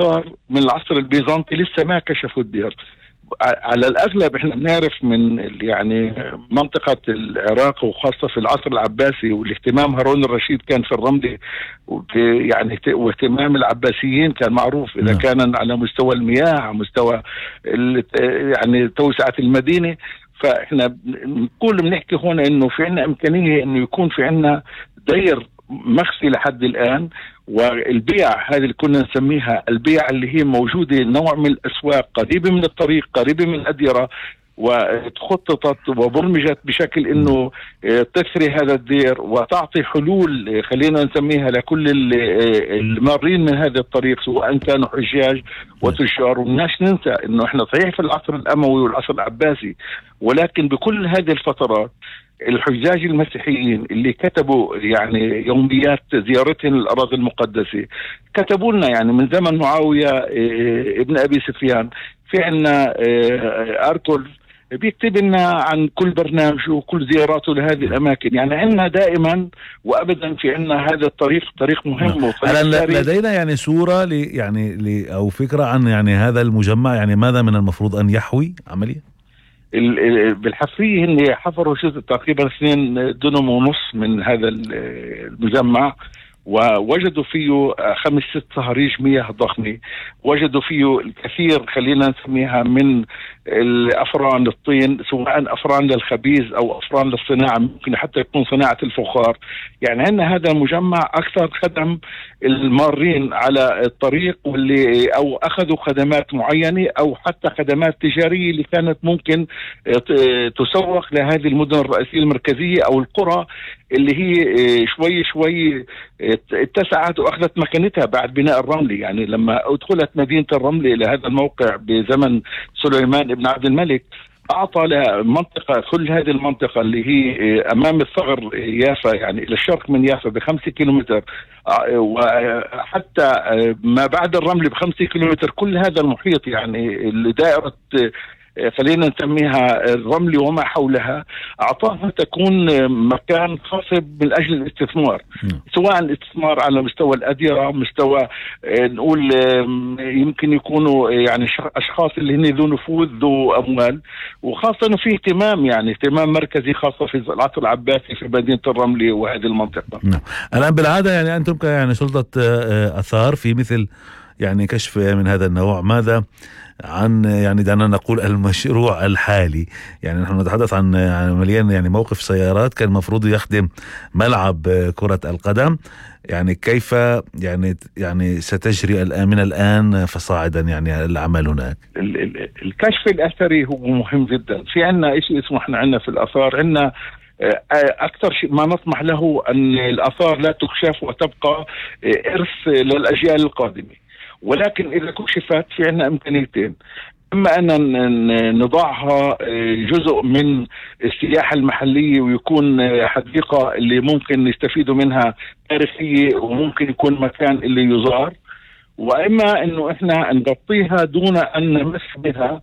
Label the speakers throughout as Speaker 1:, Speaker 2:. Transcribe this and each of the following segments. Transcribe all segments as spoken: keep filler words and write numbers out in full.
Speaker 1: صار من العصر البيزنطي لسه ما كشفوا الدير. على الأغلب إحنا بنعرف من يعني منطقة العراق وخاصة في العصر العباسي، والاهتمام هارون الرشيد كان في الرملة، يعني واهتمام العباسيين كان معروف إذا كان على مستوى المياه، على مستوى يعني توسعة المدينة. فإحنا نقول بنحكي هون إنه في عنا إمكانية إنه يكون في عنا دير مخفي لحد الآن. والبيع هذه اللي كنا نسميها البيع اللي هي موجودة نوع من الأسواق قريبة من الطريق، قريبة من الأديرة، وتخططت وبرمجت بشكل انه تثري هذا الدير وتعطي حلول خلينا نسميها لكل المارين من هذا الطريق، سواء كانوا حجاج وتجار. ومناش ننسى انه احنا صحيح في العصر الاموي والعصر العباسي، ولكن بكل هذه الفترات الحجاج المسيحيين اللي كتبوا يعني يوميات زيارتهم للأراضي المقدسة كتبوا لنا يعني من زمن معاوية ابن أبي سفيان. في عنا أركل بيكتب لنا عن كل برنامج وكل زياراته لهذه الأماكن. يعني عندنا دائما وأبدا في عنا هذا الطريق طريق مهم.
Speaker 2: الآن لدينا يعني صورة لي يعني لي أو فكرة عن يعني هذا المجمع، يعني ماذا من المفروض أن يحوي عمليا؟
Speaker 1: بالحفرية هن حفروا جزء تقريبا اثنين دنم ونص من هذا المجمع، ووجدوا فيه خمس ست صهاريج مياه ضخمة، وجدوا فيه الكثير خلينا نسميها من الأفران الطين، سواء أفران للخبيز أو أفران للصناعة، ممكن حتى يكون صناعة الفخار. يعني عندنا هذا المجمع أكثر خدم المارين على الطريق واللي أو أخذوا خدمات معينة أو حتى خدمات تجارية اللي كانت ممكن تسوق لهذه المدن الرئيسية المركزية أو القرى اللي هي شوي شوي اتسعت وأخذت مكانتها بعد بناء الرملي. يعني لما أدخلت مدينة الرملي إلى هذا الموقع بزمن سليمان بن عبد الملك، أعطى لها منطقة، كل هذه المنطقة اللي هي أمام الثغر يافا يعني إلى الشرق من يافا بخمسة كيلومتر، وحتى ما بعد الرمل بخمسة كيلومتر، كل هذا المحيط يعني دائرة خلينا نسميها الرمل وما حولها، أعطاها تكون مكان خاصب من أجل الاستثمار، سواء الاستثمار على مستوى الأديرة، مستوى نقول يمكن يكونوا يعني أشخاص اللي هن ذو نفوذ ذو أموال، وخاصة أنه في اهتمام يعني اهتمام مركزي خاصة في العصر العباسي في مدينة الرمل وهذه المنطقة.
Speaker 2: نعم. الآن بالعادة يعني أنتم يعني سلطة أثار في مثل يعني كشف من هذا النوع، ماذا عن يعني دعنا نقول المشروع الحالي؟ يعني نحن نتحدث عن عمليا يعني موقف سيارات كان المفروض يخدم ملعب كرة القدم، يعني كيف يعني يعني ستجري الآن من الآن فصاعدا يعني العمل هناك؟
Speaker 1: الكشف الأثري هو مهم جدا. في عنا شيء اسمه احنا عنا في الآثار عنا أكثر شيء ما نطمح له أن الآثار لا تكشف وتبقى إرث للأجيال القادمة، ولكن إذا كشفت في عنا إمكانيتين: إما أن نضعها جزء من السياحة المحلية ويكون حديقة اللي ممكن نستفيدوا منها تاريخية وممكن يكون مكان اللي يزار، وإما أنه إحنا نغطيها دون أن نمس بها،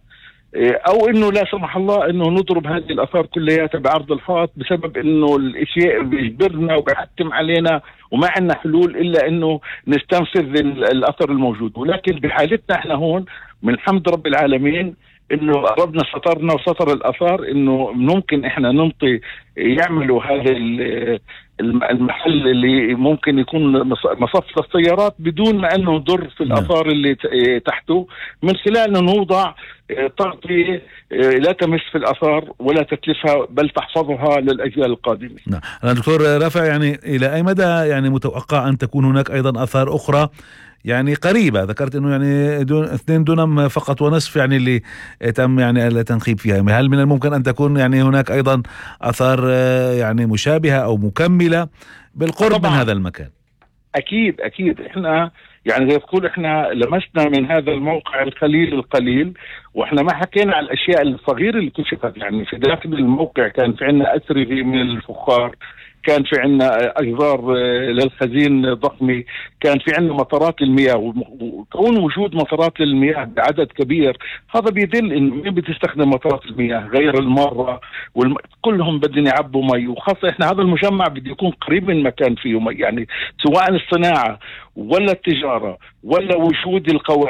Speaker 1: أو إنه لا سمح الله إنه نضرب هذه الآثار كلها بعرض الحائط، بسبب إنه الأشياء بيجبرنا وبيحتم علينا وما عندنا حلول إلا إنه نستنفذ الأثر الموجود. ولكن بحالتنا إحنا هون من حمد رب العالمين إنه ربنا سطرنا وسطر الآثار، إنه ممكن إحنا ننطي يعملوا هذا المحل اللي ممكن يكون مصف للسيارات بدون ما أنه نضر في الآثار اللي تحته، من خلال أنه نوضع تغطية لا تمس في الآثار ولا تتلفها بل تحفظها للأجيال القادمة.
Speaker 2: نعم. أنا دكتور رافع، يعني إلى أي مدى يعني متوقع أن تكون هناك أيضا آثار أخرى يعني قريبة؟ ذكرت انه يعني دون اثنين دونم فقط ونصف يعني اللي تم يعني التنخيب فيها، هل من الممكن ان تكون يعني هناك ايضا اثار يعني مشابهة او مكملة بالقرب طبعا من هذا المكان؟
Speaker 1: اكيد اكيد. احنا يعني زي تقول احنا لمسنا من هذا الموقع القليل القليل، واحنا ما حكينا على الاشياء الصغيرة اللي كشفت. يعني في داخل الموقع كان في عندنا أسرة من الفخار، كان في عندنا اجزار للخزين ضخمه، كان في عندنا مطارات المياه، وكون وجود مطارات المياه بعدد كبير هذا بيدل انه مين بتستخدم مطارات المياه غير المره والم... كلهم بدهم يعبوا مي، وخاصه احنا هذا المجمع بده يكون قريب من مكان فيه مي، يعني سواء الصناعه ولا التجاره ولا وجود القوى